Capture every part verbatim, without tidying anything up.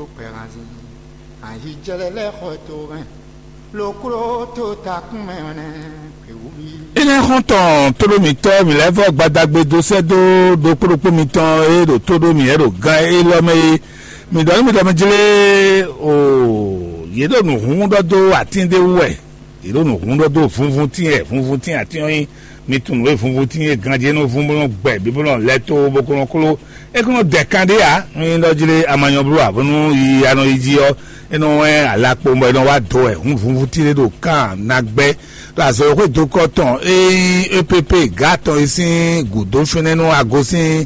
Kpɛhanzin, ayijɛlɛ lɛ́ɛ xɔ to mɛ, lo kló tó takún mɛ nɛ́, kpěwúví. Énɛ́ xɔ́ntɔn tóɖó mǐtɔn mǐ lɛ́ɛ vɔ́ gbadagbe dó sɛ́ dó ɖokpó ɖokpó mitɔn e ɖo tó ɖó mǐ wɛ ɖo gán élɔ́ mɛ é. Mǐ ɖɔ nú mi ɖɔ mi jlé o, yě ɖo nǔ hún ɖɔ dó atín ɖé wú wɛ. Yě ɖo nǔ hún ɖɔ dó vunvuntín wɛ, vunvuntín atín ɔ́ nyí. Mi tunwun nǔ e vunvuntín e ganjí e nɔ vún bó nɔ gbɛ bǐ bó nɔ lɛ́ tó bó ko nɔ kló. É ko nɔ dɛ kan ɖé ǎ, nú nyí ɖɔ jlé amanyɔbló ǎ, bónú yi a nɔ yi jí ɔ́, é nɔ wɛ́n alakpo bɔ é nɔ wá do wɛ hǔn vunvuntín ɖé ɖo kan ná gbɛ́. Ɖo azɔ̌xwé dokɔ tɔn e nyí E P P gǎ tɔn e sín gǔdo fínɛ́ nú agosín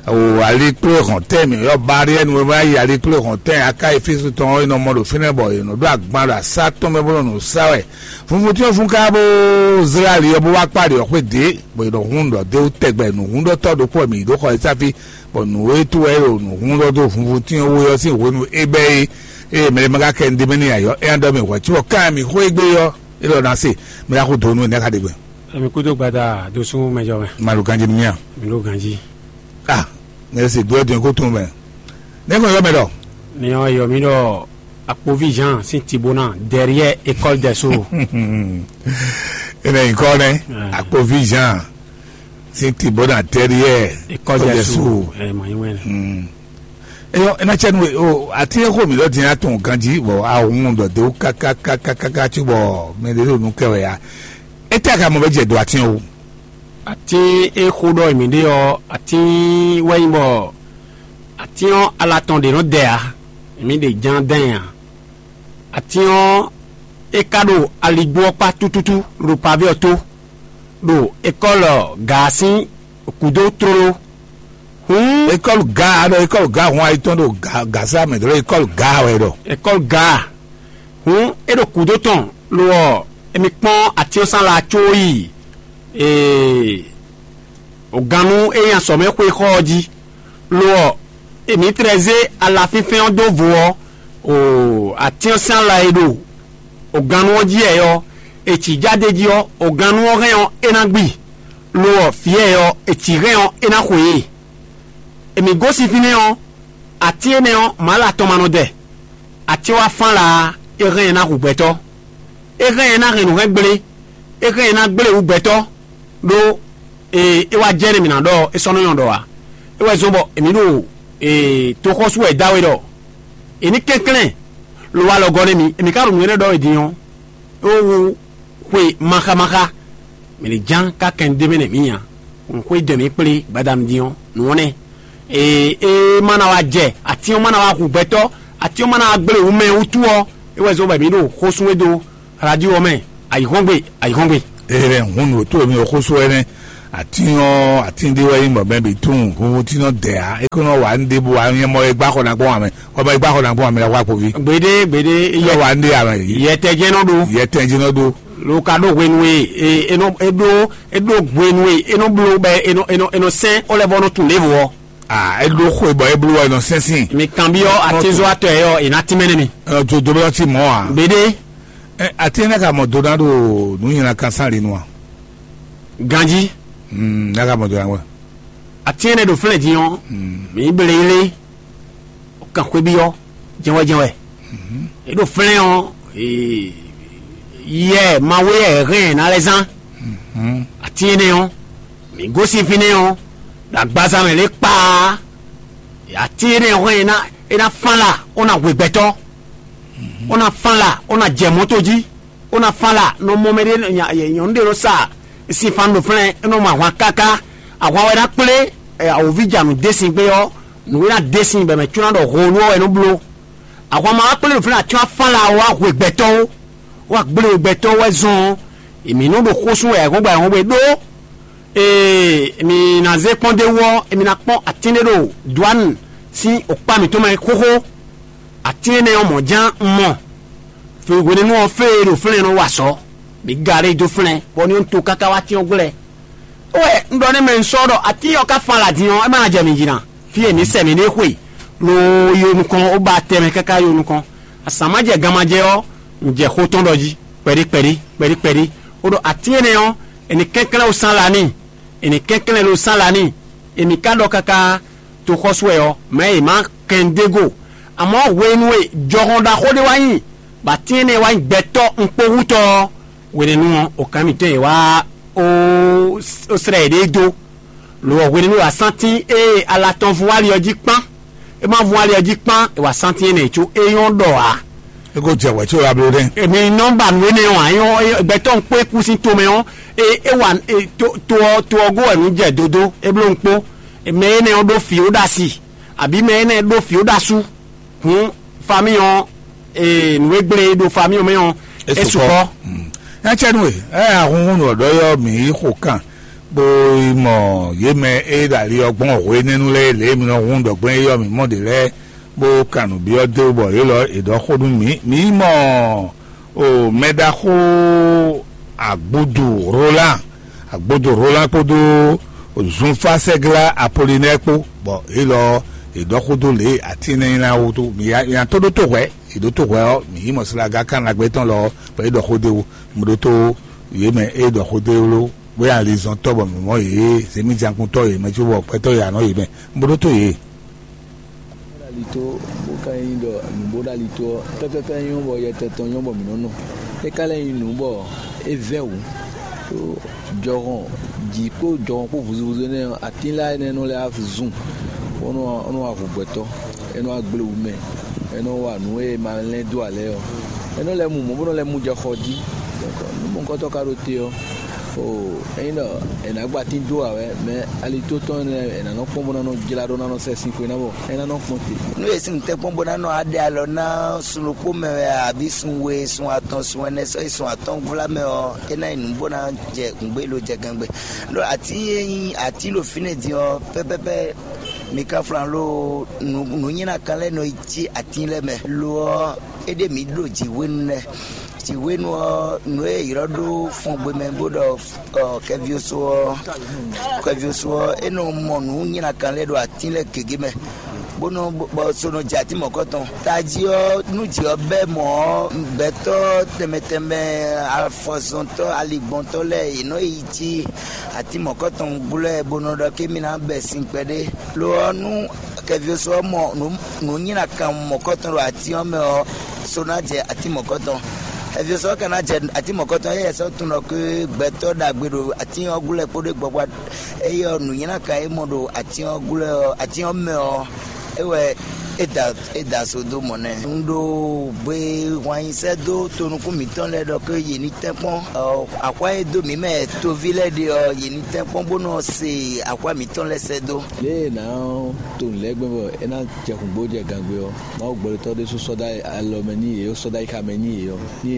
o ali kplé hɔn tɛn mǐ ɔ́, Bariɛ́nu e ma yi ali kplé hɔn tɛn aká Efísu tɔn ɔ́, è nɔ mɔ ɖo fínɛ́ bɔ è nɔ ɖó agban ɖo asá tɔn mɛ bó nɔ nǔ sa wɛ. Funfun tɔn fun ká bó zlá ali ɔ́ bó wá kpá ali ɔ́ xwé dě, bɔ è nɔ hun ɖɔ dó tɛgbɛ nǔhúnɖɔtɔ́ ɖokpó wɛ mǐ yi ɖó xɔ e sáfí, bɔ nǔ e tó wɛ é ɖo nǔhúnɖɔ dó funfun tɔn wú ɔ́ sín hwenu é bɛ́ é. Ée mɛ ɖé ma ka kɛ nǔɖé mɛ n'i ǎ ɔ́, é ná ɖɔ mì hwɛ̌ có ɔ́, kan e mǐ xo égbé ɔ́, é ɖɔ ná se, mɛ ná xo dǒ nú énɛ́ xá ɖe gbɛn. Emi kúdó gbada dó sú mɛjɔ mɛ. Maɖo ganjí nú mì a? Mi ɖó ganjí. Ah, ne se gbé ɔ́ din kó tún mɛ. Ne ko yɔ mɛ ɖɔ. Ni ɔ yɔ mi ɖɔ akpovi Jean sin tibona derrière école des sceaux. Ene nyikɔ nɛ. Akpovi Jean sin tibona derrière école des sceaux. Ɛ mɔ nyi wɛn. Eyɔ ena cɛ nu o ati e xo mi lɔ din atɔn ganji bɔ ahun dɔ de wo kakakakaka ci bɔ mɛ de ɖo nu kɛ wɛ ya. Ete aka mɔ bɛ jɛ do ati o. Atín e xó ɖɔ mǐ ɖe ɔ́, atín wɛ nyí bɔ atín ɔ́ ala tɔn ɖě nɔ dɛ ǎ, mǐ ɖe ján dán ɛ ǎ. Atín ɔ́, é ka ɖo aligbó ɔ́ kpá tútútú ɖo pavé ɔ́ tó, ɖo ekɔ́lɔ Gaa sín gǔdo tlóló. Hǔn ékɔ́lu Gaa, ɖɔ ékɔ́lu Gaa hun ayi tɔn ɖo Ga- Gasa mɛ, ɖɔ ékɔ́lu Gaa wɛ ɖɔ. Ekɔ́lu Gaa, hǔn é ɖo gǔdo tɔn, lo ɔ́, émí kpɔ́n atín ɔ́ sín ala có yi ee, ògannú e nyi azɔ̌mɛxwé xɔ ɔ́ jí. Lo ɔ́, èmí tlɛ zé ala fínfɛ́n ɔ́ dó vo ɔ́, o atín ɔ́ sín ala e ɖo ògannú ɔ́ jí wɛ ɔ́, è cǐ já d'é jí ɔ́, ògannú ɔ́ hɛn ɔ́, é ná gbi; lo ɔ́, vǐ wɛ ɔ́, è cǐ hɛn ɔ́, é ná xwe e. Èmí gosín fínɛ́ ɔ́, atín énɛ́ ɔ́, mǎla tɔn ma nɔ dɛ; atín ɔ́ wá fán la, é hɛn ɛ ná hu gbɛtɔ́. É hɛn ɛ ná hɛn nǔ hɛn gblé; é hɛn ɛ ná gblé wǔ gbɛtɔ́, ɖó ee é wá jɛ nú mǐ ná ɖɔ é sɔ́ nɔ nyɔ́ ɖɔ ǎ. É wɛ zɔ́n bɔ èmí ɖo ee toxɔ́sú wɛ dó awe ɖɔ è ní kɛnklɛ́n lo wá lɔ gɔ́ nú mì; èmí ka ɖo nǔ énɛ́ ɖɔ wɛ din ɔ́, é wú xwe maxámaxá. Mɛ ɖě ján ká kɛn dó mɛ nɛ mǐ nya, un xwé dɔn mǐ kplé gbadanu din ɔ́, nǔ ɔ́ nɛ́. Ee, é má ná wá jɛ, atín ɔ́ má ná wá hu gbɛtɔ́, atín ɔ́ má ná wá gblé wǔ mɛ wútu ɔ́, é wɛ zɔ́n bɔ mǐ ɖo xó sú we dó radio ɔ́ mɛ. Ayǐhɔ́ngbe, ayǐhɔ́ngbe. Ere hun ɖo tó mi xóso ɛnɛ. Atín ɔ́, atín ɖé wɛ nyí mɔ̌ bɛ́ bǐ tunwun hunhun tí nɔ dɛ ǎ. É kó nɔ wa nú ɖěbǔ ǎ, nyɛ mɔ e gbá xɔ ná gbɔn ame. Xɔ mɔ e gbá xɔ ná gbɔn ame la wá kpoví. Gbede, gbede, Nɔ wa nú ɖé ame. Yɛtɛjɛnɔ ɖo. Yɛtɛn jí nɔ ɖó. Lo ka ɖo hwenu e e e nɔ e ɖo e ɖo hwenu e e nɔ blo bɛ e nɔ e nɔ e nɔ sɛn o lɛ vɔ nɔ tun levo ɔ. Ah, é ɖó xwe bɔ é bló wɛ nɔ sɛnsɛn. Mi kan bi ɔ atizo atɔ yɛ ɔ e na tínmɛ ne mi. Ɛ, jo do bɛ ti mɔ a. Gbede. Ɛ, ati ne ka mɔ do na ɖo nu nyina kan san li nu a. Ganji. Hmm, na ka mɔ do na wɛ. Ati ne ɖo flɛ din ɔ. Hmm. Mi ble ile. Kan xwe bi ɔ. Jɛn wɛ jɛn wɛ. Mhm. E ɖo flɛ ɔ. Ee, yɛ mawe yɛ hɛn na lɛ zan. Mhm. Ati ne ɔ. Mi gosin fínɛ́ ɔ́, ɖo agbaza mɛ lě kpaa. Atín énɛ́ hɔn e ná e ná fán la, ó ná hwe gbɛtɔ́, ó ná fán la, ó ná jɛ mɔ̌to jí, ó ná fán la, nɔ mɔ mɛ ɖé nyɔ̌nu ɖé nɔ sa sinfan ɖo flɛ́n, é nɔ mɔ ahwan káká. Ahwan wɛ ná kplé awǒvíjanu dé sin gbé ɔ́, nǔ e ná dé sin bɔ mɛ có ná ɖɔ honu ɔ́ wɛ nɔ bló. Ahwan ma wá kplé ɖo flɛ́n atín wá fán la wá hwe gbɛtɔ́ ó. Wá gblé gbɛtɔ́ wɛ zɔn ɔ́, èmí nɔ ɖo xó sú wɛ ayǐhɔ́ngbe ayǐhɔ́ngbe ɖó. Ee, mi ná zé kpɔ́n d'é wú ɔ́, mi ná kpɔ́n atín ɖé ɖo Duanu sín okpá mǐtɔn mɛ xóxó. Atín énɛ́ ɔ́ mɔ̌ ján un mɔ. Fe hwenɛ́nu ɔ́ fée e ɖo flɛ́n nɔ wa azɔ̌. Mi ga ɖé dó flɛ́n, bɔ ní un to káká wá atín ɔ́ gblɛ́. Wɛ un ɖɔ nú mɛ un sɔ́ ɖɔ atín ɔ́ ka fán alǎ din ɔ́, é má ná jɛ mǐ jí ná. Fí e mǐ sɛ mǐ ɖe xwe, lo yi nukɔn, ó ba tɛnmɛ káká yi nukɔn. Azǎn ma jɛ gan ma jɛ ɔ́, un jɛ xó tɔn ɖɔ jí, kpɛɖí kpɛɖí, kpɛɖí kpɛɖí, ó ɖɔ atín énɛ́ ɔ́, è nǐ kɛnklɛ́n ó sán la n'i, è nǐ kɛnklɛ́n lo sán la n'i, è nǐ ka ɖɔ káká toxɔ́sú wɛ ɔ́, mɛ̌ è má kɛn dó go, Amɔ̌ hwenu e jɔhɔn ɖaxó ɖé wá nyi, bɔ atín énɛ́ wá nyí gbɛtɔ́ ɖokpóhútɔ́ ɔ́, hwenɛ́nu ɔ́, okǎn mǐtɔn e wá ó slɛ́ yěɖée dó. Lo ɔ́, hwenɛ́nu e wǎ sántín e ala tɔn vun ali ɔ́ jí kpán. É ma vun ali ɔ́ jí kpán, è wǎ sántín énɛ́ có é nyɔ́ ɖɔ ǎ. É ko jɛ wɛ̌ có wá bló ɖɛ́. Èmi nɔ́ ba nǔ énɛ́ ɔ́ ǎ, é nyɔ́ gbɛtɔ́ ɖokpó e kú sín tomɛ ɔ́, é é wa to ɔ́ to ɔ́ gó wɛ nǔ jɛ dodó, é bló ɖokpó. Mɛ énɛ́ ɔ́ ɖó fǐ ó ɖo asi, abǐ mɛ énɛ́ ɖó fǐ ó ɖo asú. Hǔn famíɔ ɔ́, nǔ e gblé e ɖo famíɔ mɛ ɔ́, é sukpɔ́. Nya cɛ́nú e ɛ ahunhun nɔ ɖɔ yɔ mǐ yi xo kan bó yi mɔ yě mɛ e ɖo ali ɔ́ gbɔn hwenɛ́nu lɛ́ɛ lě e mi nɔ hun ɖɔ gbɛn é yɔ mǐ mɔ ɖě lɛ́ɛ bó kan nǔ byɔ́ dó bɔ yě lɔ è ɖɔ xó nú mǐ. Mǐ yi mɔ o mɛɖaxó Agbúdu Roland, Agbúdu Roland kpódó Zunfásɛgla Apolinɛ́ɛ kpó, bɔ yě lɔ è ɖɔ xó dó lě atín énɛ́ nyla wútu. Mǐ ya nya tó ɖó tó hwɛ̌, è ɖó tó hwɛ̌ ɔ́, mǐ yi mɔ Slaga Kanagbé tɔn lɔ bɔ é ɖɔ xó dó é wú. Mǐ ɖótó yě mɛ é ɖɔ xó dó é wú ló, bóyá alizɔntɔ́ bɔ mǐ mɔ yě, zěmíjankúntɔ́ yě mɛ cóbɔ gbɛtɔ́ yě anɔ yě mɛ. Mǐ ɖótó yě. Bó ɖo ali tó, bó ka nyí ɖɔ nǔ bó ɖo ali tó ɔ́, pɛ́pɛ́pɛ́ nyɔ́ bɔ yɛtɛn tɔn nyɔ́ bɔ mǐ nɔ́ nɔ. É ka lɛ́ nyí nǔ bɔ é vɛ́ wǔ. Tó jɔhɔn jǐ kpó jɔhɔn kpó vuzuvuzu énɛ́ ɔ́, atín lɛ́ɛ énɛ́ nɔ lɛ́ zun, bó nɔ wá hu gbɛtɔ́, é nɔ wá gblé wú mɛ, é nɔ wa nǔ e ma lɛ́n dó ǎ lɛ́ɛ ɔ́, é nɔ lɛ́ mu mɔ̌ bó nɔ lɛ́ mu jɛ xɔ jí. Nǔ mɔ̌hunkɔtɔn ka ɖo te ɔ́, Oo, ényí ɖɔ è nǎ gba tín dó ǎ wɛ, mɛ alitó tɔn énɛ́ è nǎ nɔ kpɔ́n bó ná nɔ jlá ɖó ná nɔ sɛ sin xwe ná bɔ é ná nɔ kpɔ́n te. Nú è sin tɛ́nkpɔ́n bó ná nɔ aɖe alɔ ná sun ɖokpó mɛ wɛ, abǐ sun we, sun atɔn, sun ɛnɛ sɔ́yi sun atɔ́ɔ́ngvlá mɛ ɔ́, é ná nyí nǔ bó ná jɛ gǔngbé lo jɛ gangbe. Ɖó atín e nyí atín ɖo fínɛ́ din ɔ́, pɛ́pɛ́pɛ́ mi ka flan lo nǔ nǔnywɛ́núkan lɛ́ɛ nɔ yi cí atín lɛ́ɛ mɛ. Lo ɔ́, é ɖe mǐ ɖo jǐ hwenu lɛ́ɛ. Jǐ hwenu ɔ́, nǔ e è ylɔ́ ɖó fɔngbe mɛ bó ɖɔ ɔ, kɛvioso ɔ́, kɛvioso ɔ́, é nɔ mɔ nǔ nylá kan lɛ́ɛ ɖo atín lɛ́ɛ gěgé mɛ, bó nɔ bɔ so nɔ jɛ atín mɔ̌kɔtɔn. Tají ɔ́, nú jǐ ɔ́ bɛ́ mɔ̌ ɔ́, gbɛtɔ́ tɛnmɛ tɛnmɛ, afɔzɔntɔ́, aligbɔntɔ́ lɛ́ɛ, yě nɔ yi cí atín mɔ̌kɔtɔn glɔ́ ɛ bó nɔ ɖɔ kémí ná bɛ sin kpɛɖé. Lo ɔ́, nú kɛvioso ɔ́ mɔ nǔ nǔ nylá kan mɔ̌kɔtɔn ɖo atín ɔ́ mɛ ɔ́, so ná jɛ atín mɔ̌kɔtɔn. Ɛviɔ́sɔ́ ka ná jɛ atín mɔ̌kɔtɔn, éyɛ́ sɔ́ tunwun ɖɔ ké gbɛtɔ́ ɖagbe ɖo atín ɔ́ gúlɛ kpódó gbɔgbɔ, éyɛ́ ɔ́, nǔnywɛ́núkan e mɔ ɖo atín ɔ́ gúlɛ ɔ́, atín ɔ́ mɛ ɔ́, é wɛ é da é da so dó mɔ̌ nɛ́. Un ɖo gbe hwan nyi sɛ́ dó tonukún mǐtɔn lɛ́ɛ ɖɔ ké yě ní tɛ́nkpɔ́n axwá e dó mǐ mɛ toví lɛ́ɛ ɖe ɔ́, yě ní tɛ́nkpɔ́n bó nɔ se axwá mǐtɔn lɛ́ɛ sɛ́ dó. Lě e è nǎ to nǔ lɛ́ɛ gbɛn bɔ é ná jɛ hǔngbó jɛ gangbe ɔ́, Mawu gbɛɖotɔ́ ɖésú sɔ́ dó alɔ mɛ n'i yě, sɔ́ dó ayixa mɛ n'i yě ɔ́, ní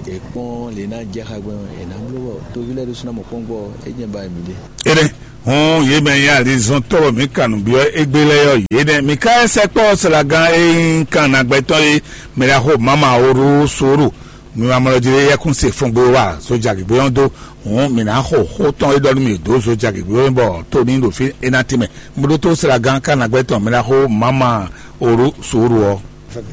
è kpɔ́n lě e ná jɛ xá gbɛn ɔ́, è nǎ bló bɔ toví lɛ́ɛ ɖésú ná mɔ kpɔ́n gbɔ ɔ́, é jɛ́n ba mǐ ɖe. Énɛ́ hɔn yě mɛ nyí alizɔ́ntɔ́ bɔ mǐ kan nǔ byɔ́ égbé lɛ́ɛ ɔ́, yě nɛ́ mǐ ka sɛkpɔ́ sɛlagán e nyí kan nagbɛtɔ́ é, mɛ ɖaxó Mama Oru Sóru, mi ma mlɔ jí ɖé yɛ́kún se fɔngbe wa zojagěgbé ɔ́ dó. Hǔn mǐ ná xo xó tɔn e ɖɔ nú mì dó zojagěgbé ɔ́ bɔ tó ní ɖo fí é ná tɛ́nmɛ. Mɔɖótó sɛlagán ka nagbɛ́ tɔn mɛ ɖaxó Mama Oru Sóru ɔ́.